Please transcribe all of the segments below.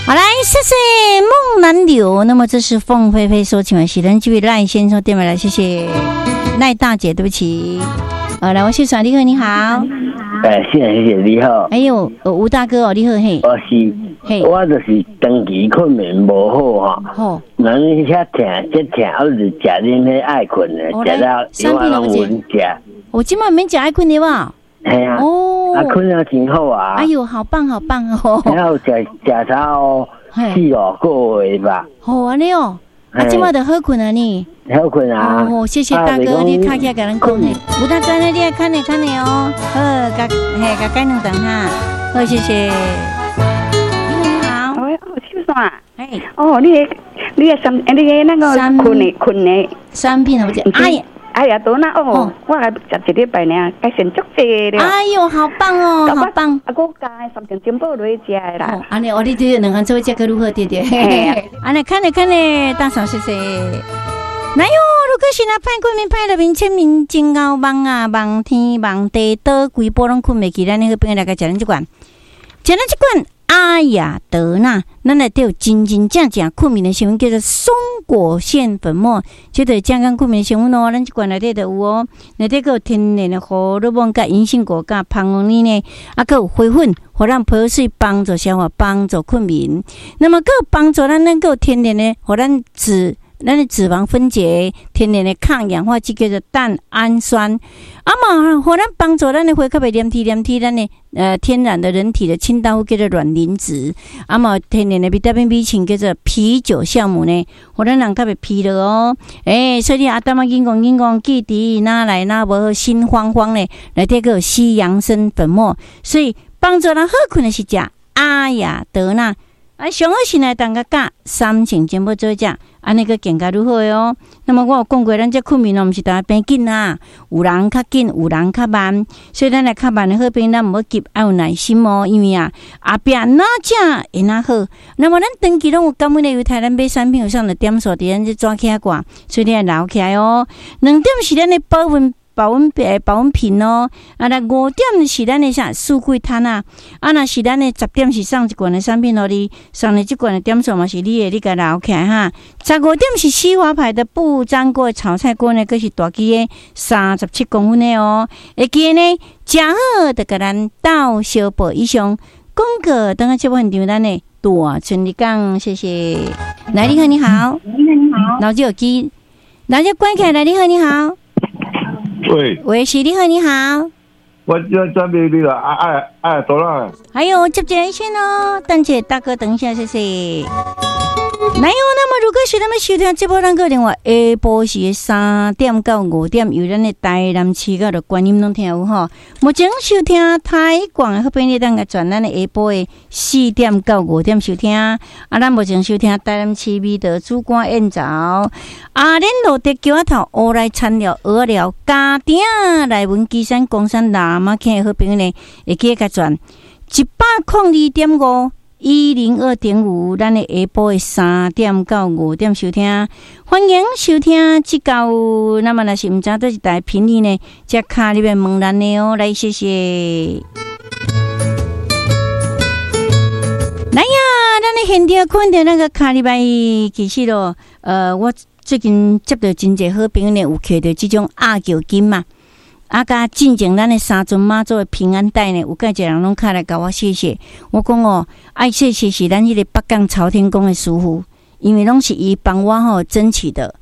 好來，謝謝夢難留。那麼這是鳳飛飛說，請問是咱這位賴先生電話來，謝謝賴大姐，對不起。好，來，我是耍，你好，你好。哎，謝謝謝謝，你好。哎呦，吳大哥哦，你好嘿。我是，嘿，我就是長期睏眠無好哈。好。咱遐疼，這疼，我是食恁彼愛睏的，食了永遠攏穩食。我這擺免食愛睏的吧？嘿啊。哦。啊，睏了真好啊。哎呦，好棒好棒哦。然後食食到四五個月吧。好按呢哦，啊，這擺就好睏啊呢。好睏啊！哦，謝謝大哥，你卡起來共咱講呢。吳大哥，你愛看呢看呢哦。好，共嘿共改兩頓哈。好，謝謝。你好，喂，哦，秀山。哎。哦，你个三，你个那個睏的睏的產品啊，不是？哎呀，哎呀，多那哦，我來食一禮拜爾，改善足濟了。哎喲，好棒哦，好棒！啊，我加三成珍寶落去食的啦。按呢，哦，你這兩項做食閣如何？對對。按呢，看咧看咧，大嫂謝謝。來喲，如果是若歹睏眠歹入眠，淺眠真𠢕夢啊，夢天夢地倒，規晡攏睏袂去。咱的好朋友來共食咱這罐，食咱這罐阿雅德娜，咱內底有真真正正睏眠的成分，叫做松果腺粉末，這就是正港睏眠的成分哦。咱這罐內底就有哦，內底閣有天然的胡蘿蔔、佮銀杏果、佮蜂王乳呢，啊，閣有花粉，予咱皮膚水幫助消化、幫助睏眠。那麼閣有幫助咱，咱閣有天然的，予咱的脂肪分解，天然的抗氧化劑叫做蛋氨酸，啊嘛，予咱幫助咱的血較袂黏貼黏貼，咱的天然的人體的清道夫叫做卵磷脂，啊嘛，天然的維他命 B 群叫做啤酒酵母呢，予咱人較袂疲勞哦。欸，所以阿淡仔緊講緊講，記得哪來哪無好，心慌慌呢，內底閣有西洋參粉末，所以幫助咱好睏的是食阿雅德娜。啊，上好是來當個佮三成全部做食，按呢閣更加愈好的哦。那麼我有講過，咱這睏眠哦，毋是逐个變緊啊，有人較緊，有人較慢，所以咱來較慢的好朋友，咱毋好急，愛有耐心哦。因為啊，後壁哪食會哪好。那麼咱長期攏有感恩的猶太，咱買產品有送的點數佇咱這紙起掛，所以你愛留起來哦。2點是咱的保溫。保溫保溫瓶哦，啊，那5點是咱的啥四季攤啊，啊，若是咱的10點是送一罐的產品予你，送的這罐的點數嘛是你的，你共留起來哈。15點是西華牌的不粘鍋炒菜鍋呢，閣是大支的37公分的哦。會記得呢，食好就共咱鬥相報以上廣告，等下節目現場咱的大春日講，謝謝。來，你好，你好，你好，老手機，老手關起來，你好，你好。喂，喂，是你好，你好。我準備你啦，啊啊啊，多啦。還有接一線哦，等下大哥，等一下，謝謝。來哦，那麼如果是咱們收聽這波咱閣另外下晡時3點到5點，由咱的台南市到觀音攏聽有吼。目前收聽台廣的好朋友，當個轉咱的下晡的4點到5點收聽。啊，咱目前收聽台南市美德主管燕巢，阿蓮路的橋仔頭烏來田寮蚵仔寮家鼎內文基山岡山喇嘛坑的好朋友呢，會記得共轉102.5。102.5，咱的下晡的3點到5點收聽，歡迎收聽這到。那麼若是毋知佗一台頻率呢，則敲入來問咱的哦，來謝謝。來呀，咱的現場看著那個敲入來，其實咯，我最近接著真濟好朋友呢，有揢著這種鴨腳金嘛。啊，佮進前咱的三尊媽祖的平安袋呢，有蓋一人攏敲來共我謝謝。我講哦，愛謝謝是咱彼個北港朝天宮的師傅，因為攏是伊幫我吼爭取的。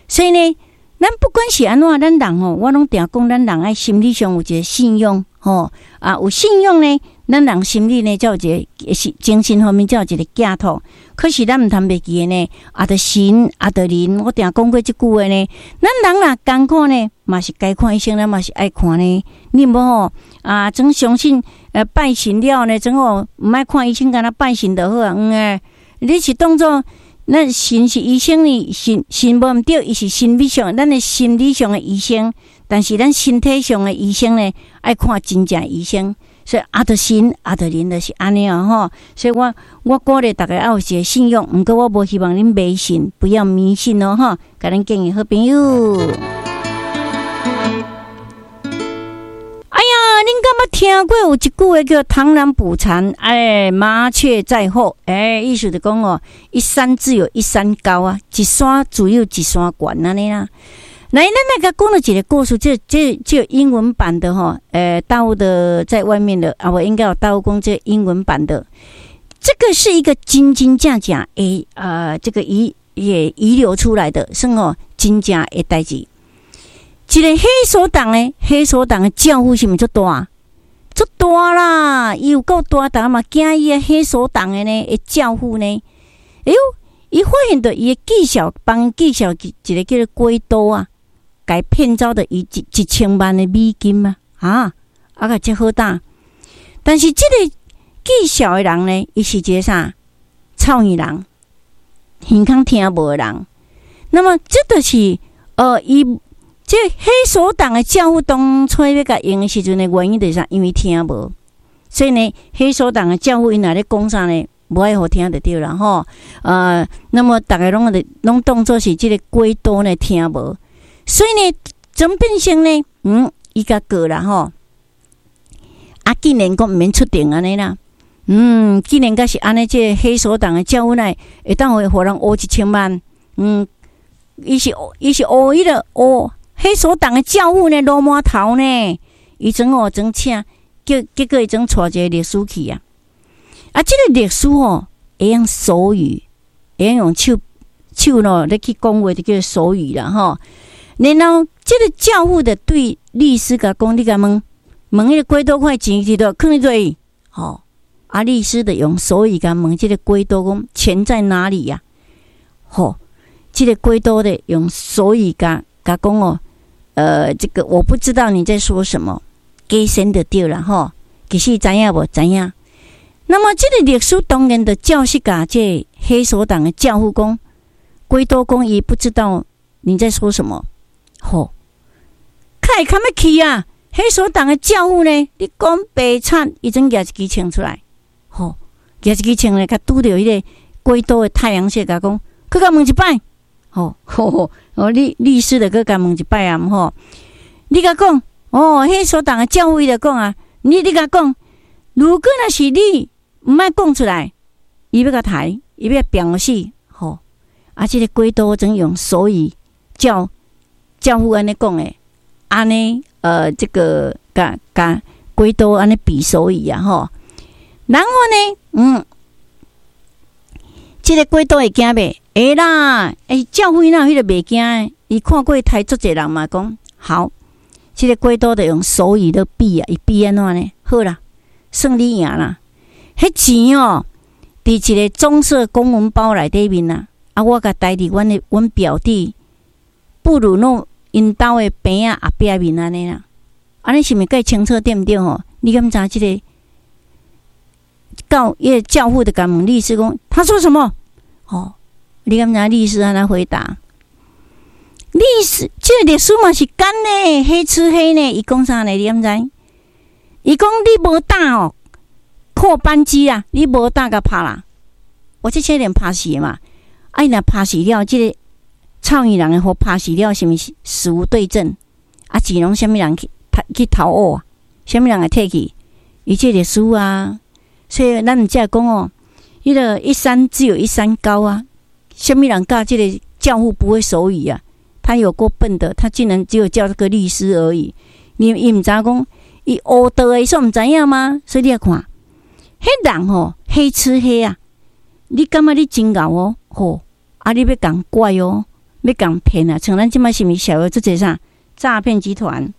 所以呢，咱不管是按怎，咱人吼，我攏定講，咱人愛心理上有一個信仰吼，啊，有信仰呢，咱人心裡呢，才有一個是精神方面才有一個寄託。可是咱毋通袂記得呢，啊，著神啊，著靈，我定講過這句話呢。咱人若艱苦呢，嘛是該看醫生，咱嘛是愛看呢。你毋好吼啊，總相信拜神了呢，總吼毋愛看醫生，干焦拜神就好啊。嗯欸，你是當做咱神是醫生呢？神神無毋對，伊是心理上，咱的心理上的醫生，但是咱身體上的醫生呢，愛看真正醫生。所以啊，著神啊，著靈，就是按呢哦吼。所以我鼓勵大家愛有一個信仰，毋過我無希望恁迷信，不要迷信哦吼。共恁建議好朋友。哎呀，恁感捌聽過有一句話叫“螳螂捕蟬，哎，麻雀在後”。哎，意思就講哦，一山自有一山高啊，一山自有一山懸按呢啦。來，咱來共講了一個故事，這英文版的吼，大陸的在外面的啊，我應該有大陸講這英文版的。這個是一個真真正正會這個也遺留出來的，算哦，真正的代誌。一個黑手黨呢，黑手黨的教父是毋是足大？足大啦！伊有夠大，逐家嘛驚伊的黑手黨的呢，的教父呢？哎喲，伊發現著伊的技巧，幫伊介紹一個叫做鬼刀啊，共騙走著伊1000萬的美金啊！啊，啊個這好膽。但是這個技巧的人呢，伊是一個啥？臭耳人，耳孔聽無的人。那麼這就是伊這黑手黨的教父當初欲共用的時陣的原因就是啥？因為聽無，所以呢，黑手黨的教父𪜶若咧講啥呢？無愛予聽就對啦吼。那麼逐家攏攏當做是這個鬼刀呢聽無，所以呢，怎變成呢？伊共告啦吼。啊，竟然講毋免出庭按呢啦。竟然閣是按呢，這個黑手黨的教父呢，會當予予人訛1000萬。伊是訛彼個訛黑手黨的教父呢，鱸鰻頭呢，伊準哦準請，結果伊準帶一個律師去啊。啊，這個律師哦，會用手語，會用手手咯，咧去講話就叫做手語啦吼。然後這個教父的對律師共講，你共問問彼個鬼刀塊錢佇佗，囥佇佗吼。啊，律師就用手語共問這個鬼刀講錢在哪裡呀？吼，這個鬼刀的用手語共共講哦，這個我不知道你在說什麼，假仙就對啦吼。其實知影無？知影。那麼這個律師當然就照實共這個黑手黨的教父講，鬼刀講伊不知道你在說什麼，吼，較會較欲氣啊！黑手黨的教父呢？你講白賊，伊準舉一支槍出來，吼，舉一支槍咧，共拄著彼個鬼刀的太陽穴，共講，閣共問一擺，吼吼哦，律師就閣共問一擺啊，吼，你共講，哦，黑手黨的教父伊就講啊，你共講，如果若是你毋愛講出來，伊欲共刣，伊欲鞭死，吼，啊，這個鬼刀準用手語教教父按呢講的，按呢，這個共共鬼刀按呢比手語啊，吼，然後呢，這個鬼刀會驚袂？會啦，欸，教父哪有彼個袂驚？伊看過刣足濟人嘛，講好，這個鬼刀就用手語咧比啊，伊比按怎呢？好啦，算你贏啦。彼錢哦，佇一個棕色公文包內底面啊，啊，我共刣佇阮表弟布魯諾𪜶兜的棚仔後壁面按呢啦。按呢是毋是較清楚對毋對吼？你敢知這個教彼個教父就共問律師講，他說什麼？吼，你敢知律師按怎回答？律師，這個律師嘛是奸呢，黑吃黑呢。伊講啥呢？你敢知？伊講你無膽哦，扣扳機啊！你無膽共拍啦！我這車連拍死嘛！啊，伊若拍死了，這個臭耳人會予拍死了，是毋是死無對證？啊，錢攏啥物人去投烏啊？啥物人會提去？伊這律師啊，所以咱毋才會講哦，彼個一山只有一山高啊！啥物人教這個教父不會手語啊？他有夠笨的，他竟然只有叫這個律師而已。你伊毋知影講，伊烏道的，伊煞毋知影嗎？所以你來看，彼人吼黑吃黑啊！你感覺你真𠢕哦，吼啊！你欲共拐哦，欲共騙啊！像咱這擺是毋是社會足濟啥詐騙集團？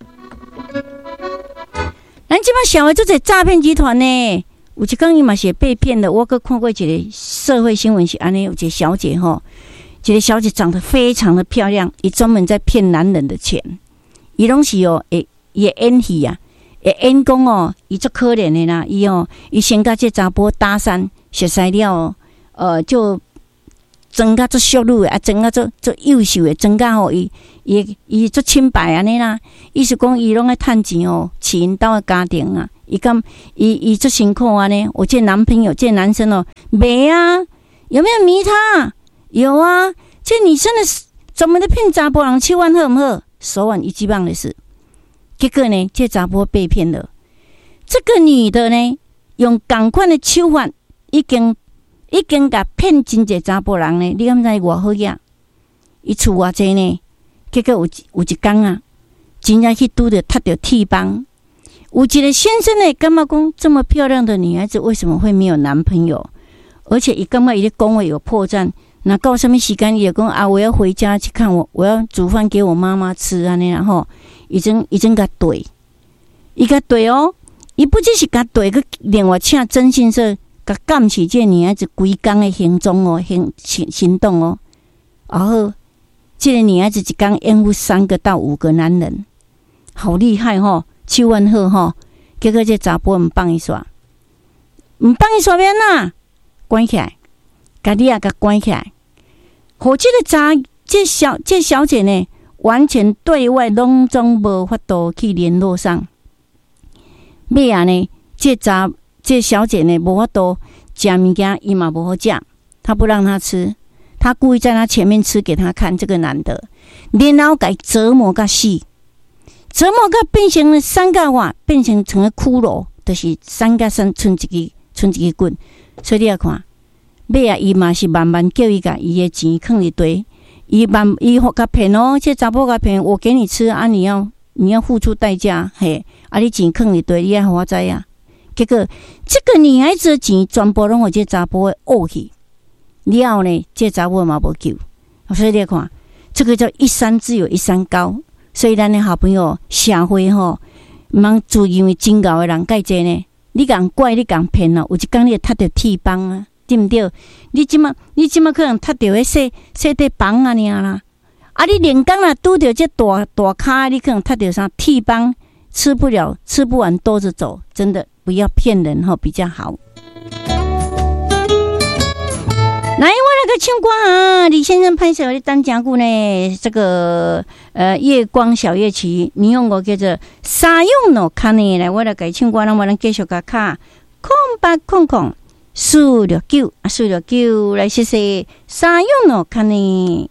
咱這擺社會足濟詐騙集團呢？有一工伊嘛是會被騙的。我閣看過一個社會新聞是按呢，有一個小姐吼，一個小姐長得非常的漂亮，伊專門在騙男人的錢。伊攏是哦，會伊會演戲啊，會演講哦，伊足可憐的啦。伊哦，伊先共這查埔搭訕，熟似了，就裝甲足淑女的，啊，裝甲足足優秀的，裝甲吼伊足清白按呢啦。意思講伊攏愛趁錢哦，飼𪜶兜的家庭啊。伊敢伊足辛苦按呢。我這男朋友，這男生哦，沒啊，有沒有迷他？有啊，這女生的專門咧騙查埔人手腕好毋好？手腕一級棒的是，結果呢，這查埔被騙了。這個女的呢，用仝款的手法，已經共騙真濟查埔人呢。你敢知偌好額？伊厝偌濟呢？結果有一工啊，真正去拄著踢著鐵枋。有一個先生呢，感覺講這麼漂亮的女孩子，為什麼會沒有男朋友？而且伊感覺伊咧講話有破綻。那到啥物時間，伊就講啊，我要回家去看我，我要煮飯給我媽媽吃按呢，然後已經共綴，伊共綴哦，伊不只是共綴，閣另外請徵信社共監視這個女孩子規工的行蹤哦，行動哦。然後這個女孩子一工應付三個到五個男人，好厲害吼，手腕好吼。結果這查埔毋放伊煞，毋放伊煞欲按怎？關起來，共你也共關起來。予這個查，這小姐呢，完全對外攏總無法度去聯絡上。尾仔呢，這小姐呢，無法度食物件，伊嘛無好食，他不讓她吃，他故意在她前面吃給她看。這個男的，然後共折磨甲死，折磨甲變成三角瓦，變成個骷髏，就是三角三賰一支，賰一支骨。所以你來看，尾仔伊嘛是慢慢叫伊共伊的錢囥佇地，伊慢伊予共騙哦，這查某共騙，我給你吃啊，你要付出代價，嘿，啊你錢囥佇地，你愛予我知影。結果這個女孩子的錢全部攏予這查埔挖去，了後呢，這查某嘛無救。所以你看，這個叫一山自有一山高。所以咱的好朋友社會吼，毋通自認為真𠢕的人蓋濟呢。你共拐，你共騙哦，有一工你會踢著鐵枋啊，對毋對？你這馬可能踢著彼細細塊枋仔爾啦。啊，你連工若拄著這大大跤，你可能踢著啥鐵枋，吃不了，吃不完兜著走。真的不要騙人吼，比較好。來，我來閣唱歌啊！李先生歹勢，你等誠久呢。這個月光小夜曲，你用過叫做沙用諾卡呢？來，我來共唱歌，咱我咱繼續共敲0800 469啊469，來謝謝沙用諾卡呢。